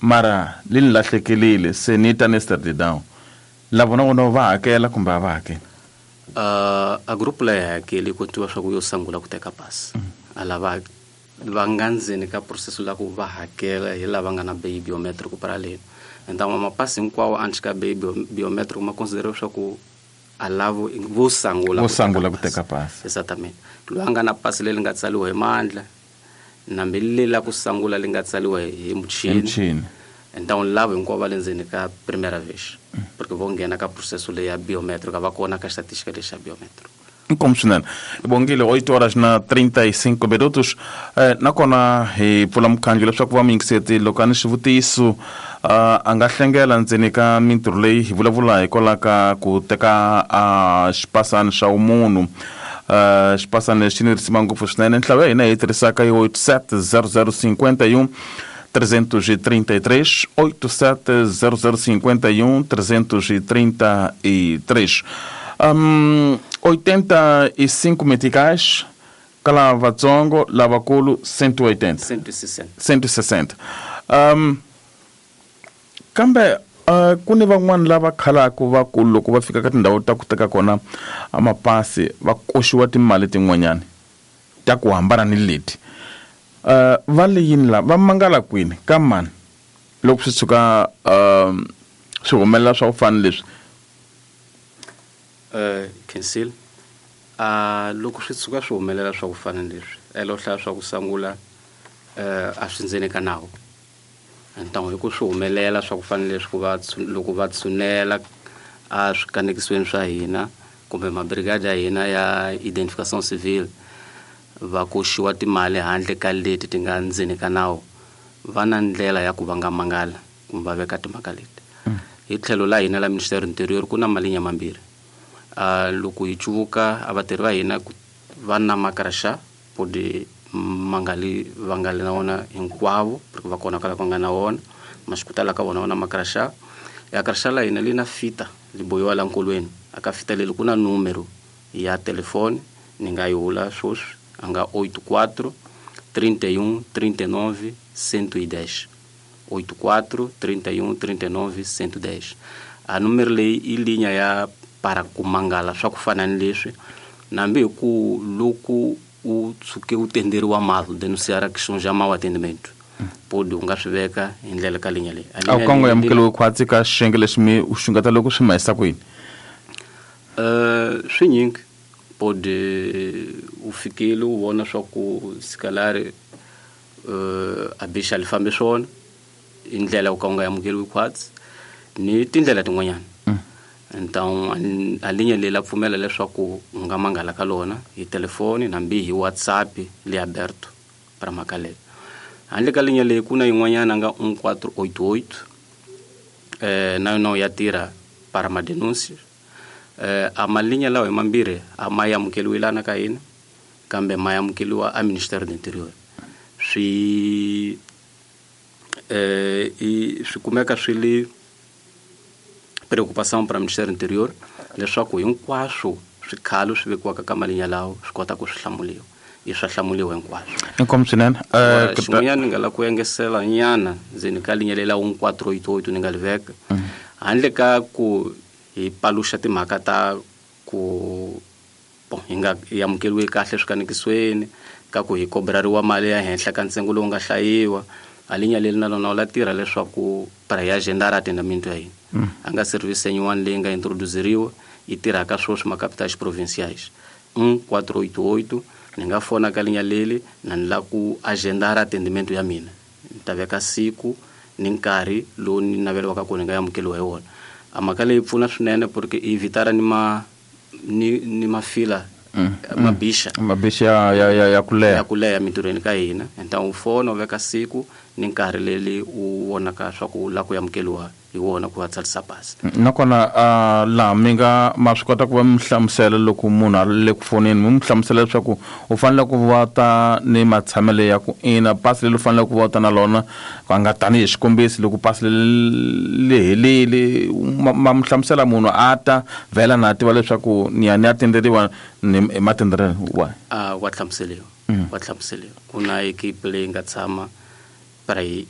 Mara li ni lahlekelile se ni ta ni down la vona vona va hakela kumbe a va hakeli? A group leyi hakeli ku tiva swa ku yo sungula ku teka pasi. A lava va nga ndzeni ka process la ku va hakela hi lava nga na biometric para leni. Então mapasi hinkwawo antes ka biometric ma consideriwa swa ku a lavo vo sungula vo sungula ku teka pasi. Exatamente. Loyi a nga na pasi leri nga tsariwa hi mandla nambi leri la ku sungula li nga tsariwa hi muchini. Então lavo hinkwavo va le ndzeni ka primera vez porque vo nghena ka processo leyi ya biometric va kona ka estatística lexi xa biometric. Inkomu swinene, bongile. 8 horas na 35 minutos. Nakona hi pfula mukhandlu leswaku va muyingiseti loko a ni xivutiso a nga hlengela ndzeni ka mintirho leyi hi vulavula hikwalaho ka ku teka xipasani xa vumunhu. Xipasani lexi ni risima ngopfu swinene. Nhlayo ya hina hi tirhisaka yi 87 00 51 333, 87 00 51 333. 85 meticais ka lavatsongo, lavakulu 180. 160. 160. Kambe ku ni van'wani lava khalaka va ku loko va fika ka tindhawu ta ku teka kona mapasi va koxiwa timali tin'wanyani ta ku hambana ni leti. Va le yini la va mangala kwini ka mani loko swi tshuka swi humelela swa ku fana leswi? Cancel. Loko swi tshuka swi humelela swa ku fana leswi, elo hlaya swa ku sungula a swi ndzeni ka nawu. Então hi ku swi humelela swa ku fana leswi ku va loko va tshunela a swikanekisweni swa hina kumbe mabrigade ya hina ya identification civile va koxiwa timali handle ka leti ti nga ndzeni ka nawu, va na ndlela ya ku va nga mangala kumbe va veka timhaka leti. Hi tlhelo la hina la Ministério Interior ku na malinya mambirhi. Loko hi cuvuka a vatirhi va hina va na makraxa podi mangali va nga li na wona hinkwavo porque va kona kwala va nga na wona maswikutala ka vona va na makraxa. Ya kraxa la hina li na fita li bohiwa la nkolweni. A ka fita leri ku na numero ya telefoni ni nga yi vula sweswi a nga 84 31 39 110, 84 31 39 110. A numero leyi i linya ya para ku mangala swa ku fana ni leswi, nambi hi ku loko u tshuke u tenderiwa mal denunciar a questão já mau atendimento podi u nga swi veka hi ndlela ka linya leyi. A wu kango amukeliwi khwatsi ka xiyenge lexi mi u xungeta loko swi ma yisa kwini? Swinyingi podi u fikile u vona swa ku sikalari a bixa li fambi swona i ndlela u ka u nga amukeliwi khwatsi ni tindlela tin'wanyana. Então a linya leyi la pfumela leswaku u nga mangala ka lona hi telefoni nambi hi WhatsApp le aberto para mhaka leyo. Handle ka linya leyi ku na yin'wanyana nga 1488, na yona ya tirha para madenúncias. A malinya lawa hi mambirhi a ma amukeliwi lana ka hina kambe ma amukeliwa a Ministério do Interior. Swi swi kumeka swi li preocupação para Ministério do Interior leswaku hinkwaswo swikhalo swi vekiwaka ka malinya lawo swi kota ku swi hlamuliwa, i swa hlamuliwa hinkwaswo. Inkomu swinene. Xin'wanyana ni nga lava ku engesela nyana ndzeni ka linya lela 1488 ni nga li veka handle ka ku hi paluxa timhaka ta ku bon hi nga hi amukeliwi kahle swikanekisweni ka ku hi kobrariwa mali ya henhla ka ntsengo lowu nga hlayiwa. A linya leri na lona la tirha leswaku para hi agendar atendimento ya hina. A nga service yin'wana leyi nga introduceriwa yi tirhaka sweswi macapitais provinciais 1488. Ni nga fona ka linya leri na ni lava ku agendar atendimento ya mina, ni ta veka siku ni nkarhi lowu ni naveliwaka ku ni nga amukeliwa hi wona. A mhaka leyi pfuna swinene porque i evitara ni ma ni mafila mabixa. Mabixa ya ku leha. Ya ku leha mintirhweni ka hina. Então u fona u veka siku ni nkarhi leri u vonaka swa ku u lava ku amukeliwa hi wona ku va tsarisa pasi. Nakona laha mi nga ma swi kota ku va mi hlamusela loko munhu a le ku foneni mi n'wi hlamusela leswaku u fanele ku va ta ni matshamelo ya ku ina pasi leri u fanele ku va ta na lona va nga tanihi xikombiso loko pasi leri li helile ma mi hlamusela munhu a ta vhela na tiva leswaku ni ya ni ya tenderiwa ni hi matenderelo wa. A wa hlamuseliwa, wa hlamuseliwa. Ku na equipe leyi nga tshama para hi